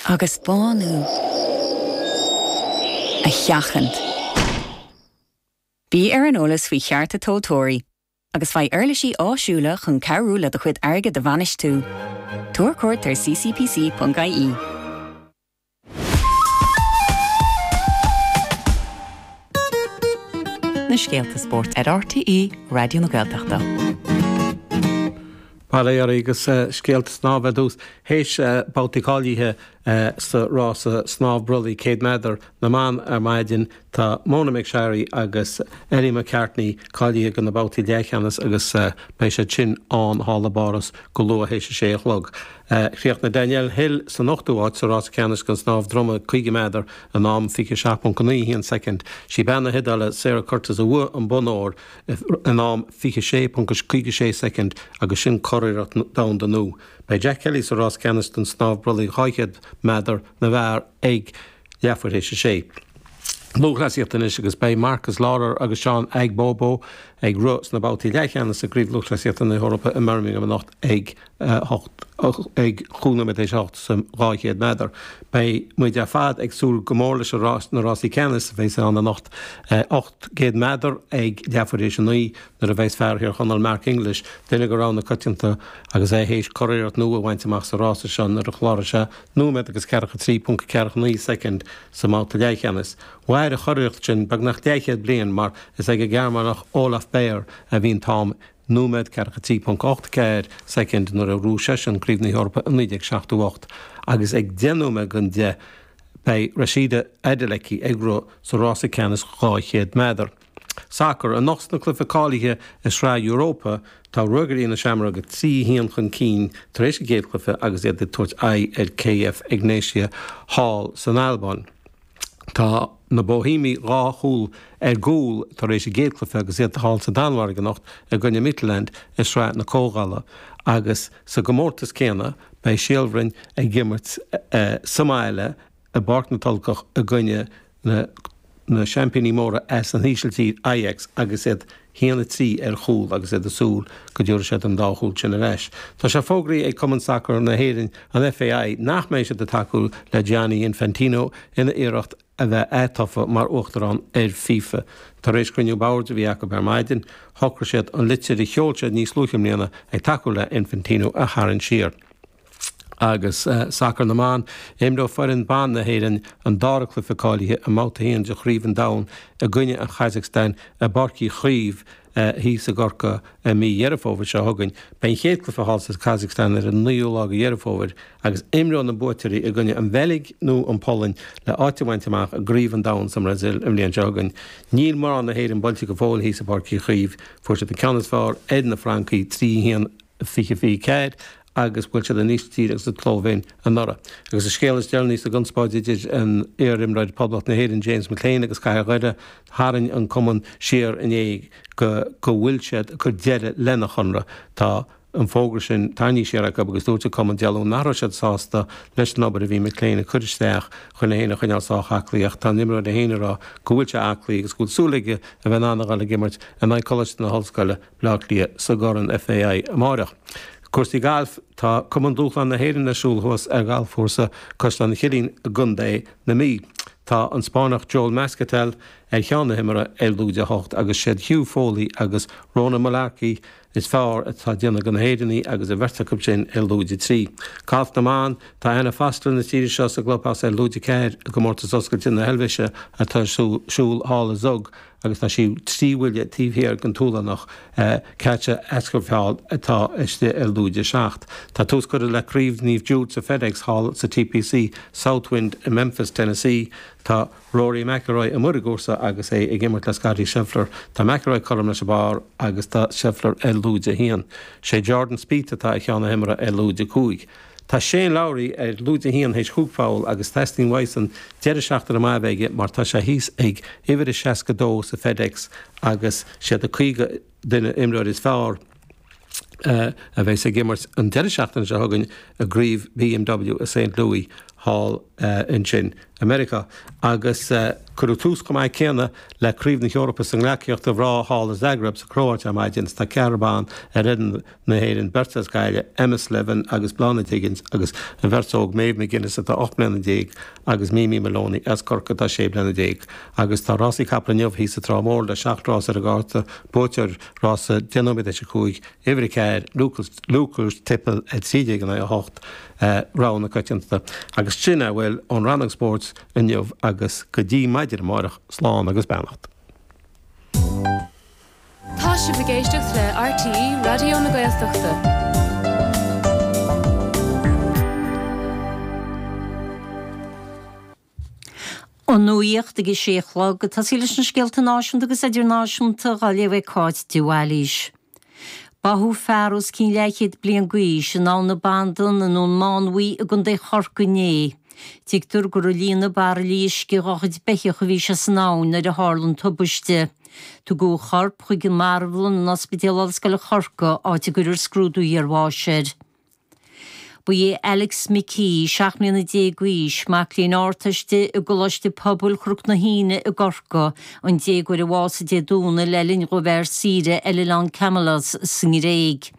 Agus bánú a sheachaint. Bí ar an eolas faoi chearta tomhaltóirí agus faigh uirlisí áisiúla chun cabhrú le do chuid airgid a bhainistiú. Tabhair cuairt ar ccpc.ie. Na scéalta spóirt ar RTÉ Raidió na Gaeltachta. Bail ó Dhia oraibh agus scéalta snámha ar dtús. Théis babhtaí cáilithe sa rása snámh brollaigh 100 méadar na mban ar maidin, tá Mona McSharry agus Ellie McCartney cáilithe do na babhtaí leathcheannais agus beidh siad sin ann thall i bPáras go luath théis a sé a chlog. Chríochnaigh Danielle Hill san ochtú háit sa rása ceannais den snámh droma 50 méadar in am 27.91 soicind. Sí bean na hIodáile Sara Curtis a bhuaigh an bonn óir in am 26.56 soicind agus sin curiarracht domhanda nua. Beidh Jack Kelly sa rás ceannais den snámh brollaigh 200 méadar na bhfear ag leathuair théis a sé. Lúthchleasaíocht anois agus beidh Marcus Lawler agus Sean Aigboboh ag rith sna babhtaí leathcheannais i gCraobh Lúthchleasaíochta na hEorpa i mBirmingham anocht ag 8 ag 5 nóiméad théis 8 sa 200 méadar. Beidh muid ar fad ag súil go mór leis na rásaí ceannais a bheas ann anocht, 800 méadar ag leathuair théis a 9 nuair a bheas fear Thír Chonaill Mark English, duine de rogha na coitianta agus é théis curiarracht nua a bhaint amach sa rása seo nuair a chláraigh sé nóiméad agus 43.49 soicind sa mbabhta leathcheannais. Mhair an churiarracht sin beagnach leathchéad bliain mar is ag an Ghearmánach Olaf Beyer a bhí an t-am nóiméad 43.84 soicind nuair a ghnóthaigh seisean Craobh na hEorpa i 1978 agus ag 10 nóiméad don 10 beidh Rhasidat Adeleke ag rith sa rása ceannais 200 méadar. Sacar, Anocht sna cluichí cáilithe i Sraith Europa, tá Ruagairí na Seamróige 3 1 chun cinn tar éis an chéad chluiche agus iad ag tabhairt aghaidh ar KF Egnatia thall san Albáin. Tá na Bóihéimigh dhá chúl ar gcúl tar éis an gcéad chluiche agus iad thall sa Danmhairg anocht i gcoinne Midtjylland i Sraith na Comhdhála agus sa gcomórtas céanna beidh Síol Bhroin ag imirt sa mbaile i bPáirc na Tulcach i gcoinne na na seaimpíní móra as an Ísiltír, Ajax, agus iad 1-3 ar chúl agus iad ag súil go dtabharfaidh siad an dá chúl sin ar ais. Tá sé fógraithe ag Cumann Sacair na hÉireann, an FAI, nach mbeidh siad ag tacú le Gianni Infantino ina iarracht a bheith atofa mar uachtarán ar FIFA. Tar éis cruinniú boird a bhí acu ar maidin, shocraigh siad an litir a sheol siad níos luaithe i mbliana ag tacú le Infantino a tharraingt siar. Agus sacar na mban, imreoidh foireann ban na hÉireann an dara cluiche cáilithe i mBabhta 1 de Chraobh an Domhain i gcoinne an Chasacstáin i bPáirc Uí Chaoimh thíos i gCorcaigh i mí Dheireadh Fómhair seo chugainn. Beidh an chéad cluiche thall sa Chasacstáin ar an 9ú lá de Dheireadh Fómhair agus imreoidh na buaiteoirí i gcoinne an Bheilg nó an Pholainn le áit a bhaint amach i gCraobh an Domhain sa mBrasaíl an bhliain seo chugainn. Níl mná na hÉireann buailte go fóill thíos i bPáirc Uí Chaoimh. Fuair siad an ceann is fearr ar na Francaigh, 3 1. 20 24 agus bhuail siad an Ísiltír agus an tSlóivéin anuraidh. Agus an scéal is deireanaí sa gconspóid idir an iar-imreoir Poblacht na hÉireann James McClean agus Cathair Dhoire, tharraing an cumann siar inné go go bhfuil siad ag cur deireadh lena chonradh. Tá an fógra sin tarraingthe siar acu agus dúirt an cumann Dé Luain nach raibh siad sásta leis an obair a bhí McClean ag cur isteach chun é féin a choinneáil sách aclaí ach tá an imreoir é féin ag rá go bhfuil sé aclaí agus go bhfuil súil aige a bheith in ann a dhul ag imirt in aghaidh Coláiste na hOllscoile Bleá Cliath sa gCorn FAI amáireach. Cúrsaí gailf, Tá Cumann Dúshlán na hÉireann ar siúl thuas ar ghalfchúrsa Caisleán an Chillín i gContae na Mí. Tá an Spáinneach Joel Mascatel ar cheann na himeartha ar lúide 8 agus siad Hugh Foley agus Ronan Mullarkey is fearr atá ag déanamh do na hÉireannaigh agus an bheirt acu sin ar lúide 3. Galf na mBan, Tá Anna Foster na tíre seo sa gclubhouse ar lúide 4 i gComórtas Oscailte na hEilvéise atá ar siúl thall i Zug agus tá sí 3 bhuille taobh thiar den tSualannach Katja Askefjäll atá istigh ar lúide 7. Tá tús curtha le Craobh Naomh Jude sa FedEx thall sa TPC Southwind i Memphis, Tennessee. Tá Rory McIlroy amuigh ar an gcúrsa agus é ag imirt le Scottie Scheffler. Tá McIlroy cothrom leis an bpar agus tá Scheffler ar lúide 1. Sé Jordan Spieth atá ar cheann na himeartha ar lúide 5. Tá Shane Lowry ar lúide 1 théis chúig pholl agus teastaíonn uaidhsean deireadh seachtaine maith a bheith aige mar tá sé thíos ag uimhir a 62 sa FedEx agus siad na 50 duine imreoir is fearr a bheas ag imirt an deireadh seachtaine seo chugainn i gCraobh BMW i St Louis thall ansin i Meiriceá. Agus. Cuireadh tús chomh maith céanna le Craobh na hEorpa sa ngleacaíocht do mhná thall i Zagreb sa Chróit ar maidin is tá ceathrar ban ar fhoireann na hÉireann, beirt as Gaillimh, Emma Slevin agus Bláthnaid Higgins agus an bheirt óg Maeve McGuinness atá 18 mbliana agus Mimi Moloney as Corcaigh atá 16 bliana. Agus tá rásaí capall inniu thíos sa Trá Mhór le seacht rás ar an gcárta, buaiteoir rása 10 nóiméad théis a 5, uimhir 4, Lucas Tippel, 13 in aghaidh 8, rogha na coitiantachta. Agus sin a bhfuil ón rannóg spóirt inniu agus go dtí maidin amárach, slán agus beannacht. Tá sibh ag éisteacht le RTÉ Raidió na Gaeltachta. An nuacht ag a sé a chlog, ag tosaí leis na scéalta náisiúnta agus idirnáisiúnta dhá léamh ag Cáit de Bhailís. Báthadh fear os cionn leathchéad bliain d'aois in Abhainn na Bandan i nDún Mánmhaí i gContae Chorcaí inné. Tuigtear gur ag líonadh bairillí uisce dhá chuid beithíoch a bhí sé san abhainn nuair a tharla an tubaiste. Tugadh a chorp chuig an marbhlann in Ospidéal Ollscoile Chorcaí áit a gcuirfear scrúdú iarbháis air. Ba é Alex McKee, 17 mbliana d'aois, mac léinn Ardteiste i gColáiste Pobail Chnoc na hAoine i gCorcaigh, an déagóir a bhásaigh Dé Domhnaigh le linn dhó bheith ar saoire ar oileán Kimolos sa nGréig.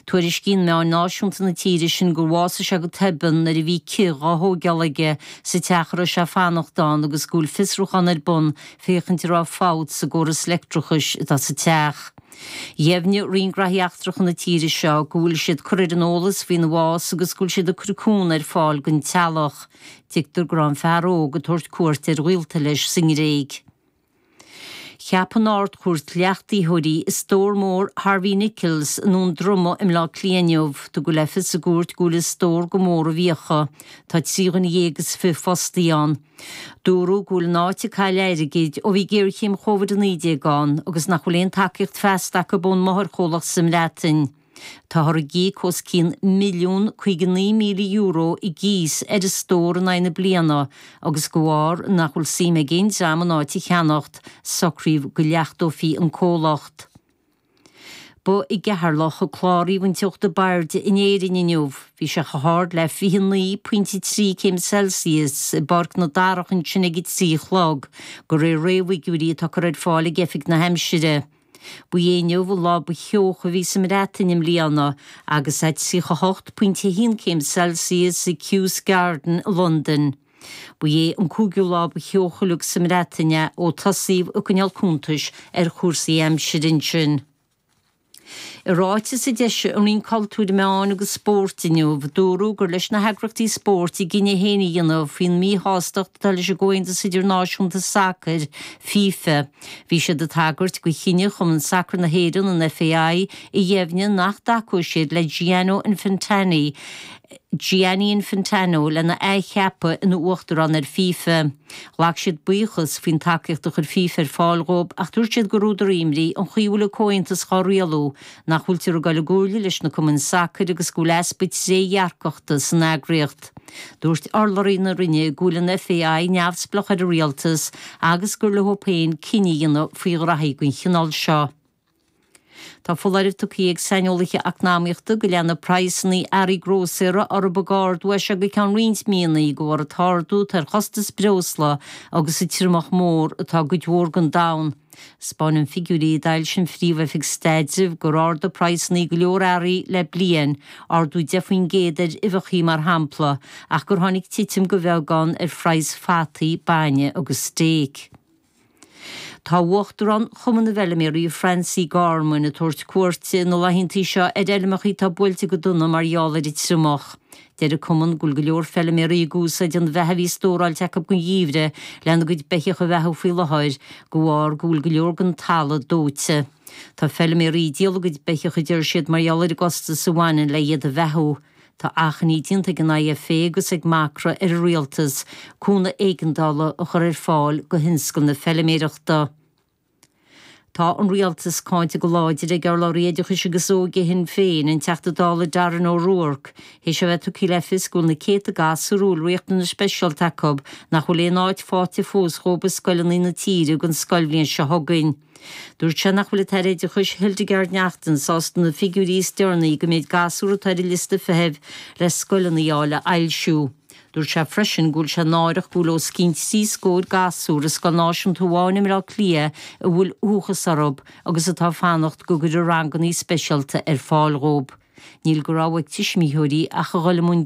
Tuairiscíonn meáin náisiúnta na tíre sin gur bhásaigh sé go tobann nuair a bhí cith dhá thóigeáil aige sa teach a raibh sé ag fanacht ann agus go bhfuil fiosrúchán ar bun féachaint an raibh fabht sa gcóras leictreachais atá sa teach. Dheimhnigh Roinn Graithí Eachtracha na tíre seo go bhfuil siad curtha ar an eolas faoina bhás agus go bhfuil siad ag cur cúnamh ar fáil don teaghlach. Tuigtear go raibh an fear óg ag tabhairt cuairt ar ghaolta leis sa nGréig. Cheap an Ard-Chúirt leachtaítheoirí i stór mór Harvey Nichols i nDún Droma i mBleá Cliath inniu. Tugadh le fios sa gcúirt go bhfuil an stór go mór i bhfiacha. Tá 13 dhuine fostaí ann. Dúradh go bhfuil an áit ag cailleadh airgid ó bhí géarchéim Covid-19 ann agus nach bhfuil aon tacaíocht feasta acu ón máthairchomhlacht sa mBreatain. Táthar ag íoc os cionn €1,059,000 i gcíos ar an stór in aghaidh na bliana agus de bharr nach bhfuil suim ag aon dream an áit a cheannacht, socraíodh go leachtófaí an comhlacht. Ba i gCeatharlach a cláraíodh an teocht ab airde in Éirinn inniu. Bhí sé chomh hard le 29.3 céim Celsius i bPáirc na Darach ansin ag a 3 a chlog, de réir réamhfhigiúirí atá curtha ar fáil ag Oifig na hAimsire. Ba é inniu an lá ba theocha a bhí sa mBreatain i mbliana agus é 38.1 céim Celsius i Kew Garden i Londain. Ba é an cúigiú lá ba theocha uilig sa mBreatain é ó tosaíodh ag coinneáil cuntais ar chúrsaí aimsire ansin. I ráiteas a d'eisigh an Roinn Cultúir, Meáin agus Spóirt inniu, dúradh gur leis na heagraíochtaí spóirt a gcinneadh féin a dhéanamh faoin míshástacht atá leis an gComhaontas Idirnáisiúnta Sacair, FIFA. Bhí siad ag tagairt do chinneadh Chumann Sacair na hÉireann, an FAI, a dheimhnigh nach dtacóidh siad le Gianno Infantani, Gianni Infantano lena athcheapadh ina uachtarán ar FIFA. Ghlac siad buíochas faoin tacaíocht a chuir FIFA ar fáil dhóibh ach dúirt siad gur údar imní an chaoi a bhfuil an comhaontas dhá rialú, nach bhfuiltear ag dul i gcomhairle leis na cumainn sacair agus go bhfuil easpa trédhearcachta san eagraíocht. Dúirt urlabhraí na Roinne go bhfuil an FAI neamhspleách ar an rialtas agus gur leo féin cinneadh a dhéanamh faoi ghraithí den chineál seo. Tá foláireamh tugtha ag saineolaithe eacnamaíochta go leanfaidh praghsanna earraí grósaera orthu ag ardú as seo go ceann roinnt míonna de bharr an t-ardú atá ar chostas breosla agus an triomach mór atá i gcuid mhór den domhan. 'Spáineann figiúirí a d'fhoilsigh an Phríomh-Oifig Staidrimh gur ardaigh praghsanna go leor earraí le bliain, ardú 10% ar uibheacha mar shampla, ach gur tháinig titim go bheagán ar phraghas fataí, bainne agus stéic. Tá Uachtarán Chumann na bhFeilméaraí Francie Gorman ag tabhairt cuairte na laethanta seo ar fheilmeacha atá buailte go dona mar gheall ar an triomach. Deir an cumann go bhfuil go leor feilméaraí ag úsáid an bheatha a bhí stóráilte acu don gheimhreadh lena gcuid beithíoch a bheathú faoi láthair de bharr go bhfuil go leor den talamh dóite. Tá feilméaraí ag díol a gcuid beithíoch a deir siad mar gheall ar an gcostas a bhaineann le iad a bheathú. Tá achainí déanta ag an IFA agus ag Macra ar an Rialtas cúnamh éigeandála a chur ar fáil do thionscal na feilméireachta. Tá an Rialtas cáinte go láidir ag urlabhraí oideachais agus óige Shinn Féin, an Teachta Dála Darren O'Rourke, théis a bheith tugtha le fios go bhfuil na céadta gasúr a bhfuil riachtanais speisialta acu nach bhfuil aon áit faighte fós dhóibh i scoileanna na tíre don scoilbhliain seo chugainn. Dúirt sé nach bhfuil an tAire Oideachais Hildegarde Naughton sásta na figiúirí is deireanaí den méid gasúr atá ar an liosta feithimh le scoileanna a fháil a fhoilsiú. Dúirt sé freisin go bhfuil sé náireach go bhfuil os cionn trí scór gasúr i scoil náisiúnta amháin i mBleá Cliath a bhfuil uathachas orthu agus atá ag fanacht go gcuirfear ranganna speisialta ar fáil dhóibh. Níl de rogha ag tuismitheoirí ach a dhul i mbun.